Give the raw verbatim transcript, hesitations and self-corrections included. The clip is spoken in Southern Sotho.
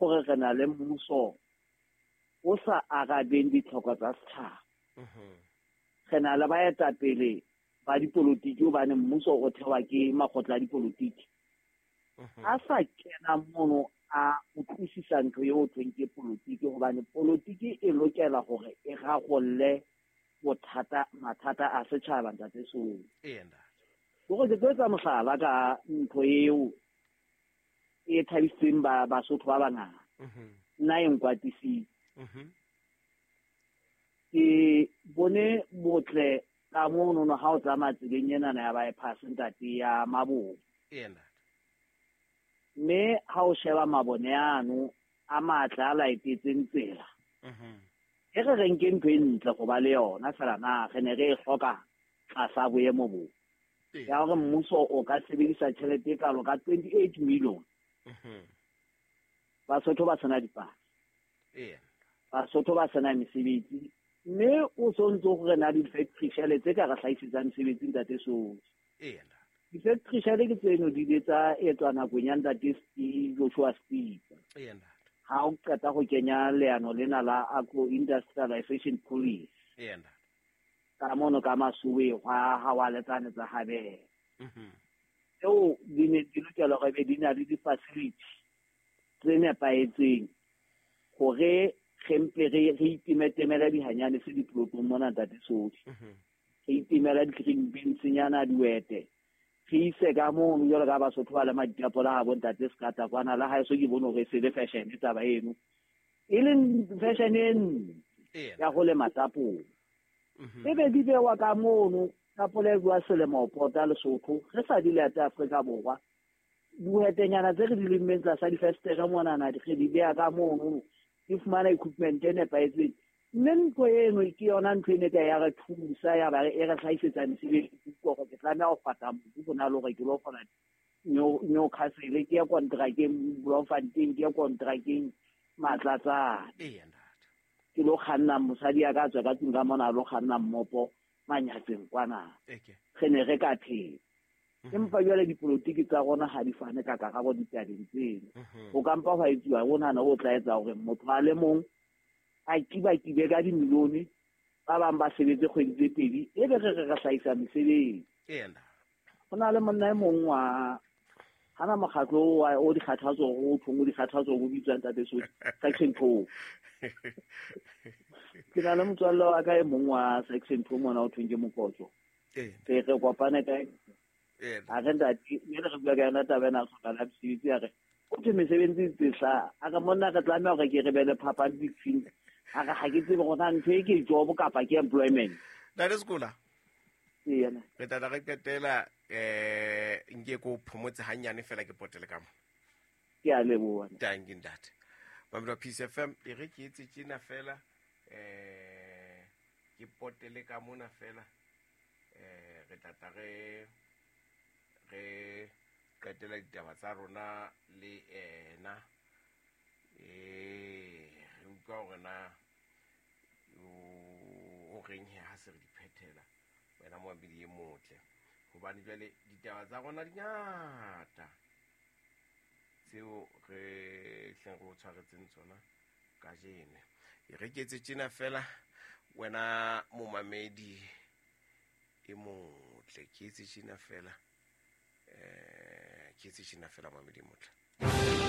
gore re na le mmuso o sa arabeng ditlhoko tsa setšhaba. Re na le baetapele ba dipolotiki hobane mmuso o thewa ke makgotla a dipolotiki. A sa kena mono a utlwisisa ntho eo thweng ke polotiki, hobane polotiki e lokela hore e rarolle bothata mathata a setjhaba ntate Soli. Ee ntate. Hore ke tlo etsa mohlala ka ntho eo e thabisitseng ba Basotho ba bangata. Nna e nkwatisitse. Ke bone botle ka mono no ha o tsamaya tseleng enana ya bypass ntate ya Mabone. Ee ntate. Mme ha o sheba mabone ano a matle a laetetseng tsela. E re re nke ntho e ntle go ba le yona fela na re ne re e hloka tlasa boemo bo. Ya hore mmuso o ka sebedisa tjhelete e kalo ka twenty-eight million. Basotho ba sena dipasa. Ee. Basotho ba sena mesebetsi. Mme o so ntso gore na di-factory shele tse ka re hlahisetsang mesebetsi ntate Soli. Ee. Di-factory shele ke tseno di ile tsa etswa nakong ya ntate Steve Joshua Steve. Ee ntate. Ha o qeta go kenya leano lena la agro industrialization policy. Ee ntate. Ka mono ka masuwe hwa ha wa letsane tsa habela. Mhm. Eo di ne di lokela hore be di na le di-facility tse nepahetseng hore re mpe re re itimetemela dihanyane se diplotong mona ntate Soli. Mhm. Re itimela di-green beans nyana diwete. Re ise ka mono jwalo ka Basotho ba le maditapola ha bo ntate Sekata kwana la haeso ke bone hore e se le fashion taba eno. E leng fashion e ntle ya go lema tapole. Mhm. E be di bewa ka mono tapole e bua selemo ho pota Lesotho re sa di late Afrika Borwa. Diwetenyana tse re di lemmeng tlasa difestere monana re di beha ka mono di fumana equipment e nepahetseng. Mme ntho eno ke yona ntho e ne ka ya re thusa ya ba e re hlahisetsa mesebetsi hore ke tlameha ho fata mobu ho na le hore ke lo kgona Newcastle ke ye kontrakeng Bloemfontein ke ye kontrakeng Matlatsane. Ee ntate. Ke lo kganna mosadi ya ka tswa ka tlung ka mona a lo kganna mmopo Manyatseng kwana. Eke. Re ne re ka phela. Empa jwale dipolotiki tsa rona ha di fane ka karabo ditabeng tseno. Ho ka mpa hwa etsuwa ho nahana ho tla etsa hore motho a le mong a kibakibe ka dimilione, ba bang ba sebetse kgwedi tse pedi, e be re re re hlahisa mesebetsi. Ee ntate. Ho na le monna e mong wa hana mokgatlo wa o dikgathatso o thong o dikgathatso o bitswang ntate Soli section two. Ke na le motswalle wa ka e mong wa section two mona o thong ke Mokotso. Ee. Re re kopane ka Ee. a re ntate mme re bua ka yona taba ena a hloka la mesebetsi a re o thwe mesebetsi e tse hlaha. A re monna re tlameha hore ke re be le phapang between a re ha ke tsebe hore na ntho e ke job kapa ke employment. Ntate Sekola. Ee, yena. Re tla re qetela eh nke ko phomotse hanyane fela ke potele ka mo. Ke a leboha. Thank you ntate. Mamelo Peace F M e re ke etse tjena fela eh ke potele ka mona fela eh re tla tla re re qetela ditaba tsa rona le ena eh re utlwa hore na o reng he ha se re di phethela wena moamedi e motle hobane jwale ditaba tsa rona di ngata tseo re hleng re o tshwaretseng tsona kajeno. E re ke etse tjena fela wena momamedi e motle ke etse tjena fela eh ke etse tjena fela momamedi e motle.